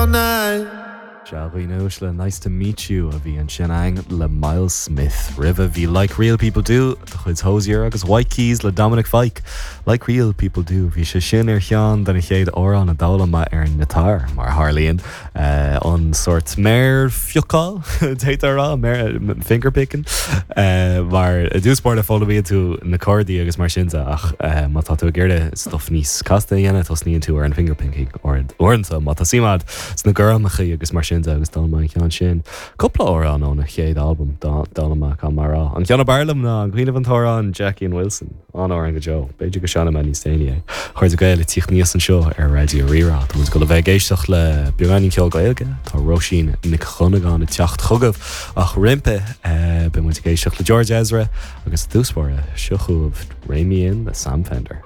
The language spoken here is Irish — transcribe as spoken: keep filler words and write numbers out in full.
all night. Sea le nice to meet you a bhí ansin againn le Myles Smith. Roimhe bhí like real people do de chuid Hozier agus White Keys le Dominic Fike. Like real people do bhí sé sin ar cheann de na chéad amhráin a d'fhoghlaim mé ar an ngiotár mar tharlaíonn uh, an sort méarphiocáil rá méar fingerpicking uh, mar i dtús báire foghlaimíonn tú na cordaí agus mar sin ach uh, má tá tú ag iarraidh stuff níos casta a dhéanamh tosnaíonn tú ar an fingerpicking uaireanta má tá suim agat sna gormacha agus mar sin agus d'fhoghlaim mé an ceann sin. Cúpla amhrán óna chéad album d'fhoghlaim mé mar rá. An ceann ab fhearr liom ná an cuimhin an t-amhrán Jackie and Wilson an amhrán go deo, B'fhéidir go seinnfidh mé níos déanaí é. Chuir Gael tíocht níos anseo ar Raidió Rí-Rá Tá go le bheith ag éisteacht le beagáinín ceol Gaeilge Tá Róisín Nic Dhonnagáin ag teacht chugaibh ach roimhe beidh muid ag éisteacht le George Ezra agus dúspóra seo chugaibh Rein Me In le Sam Fender.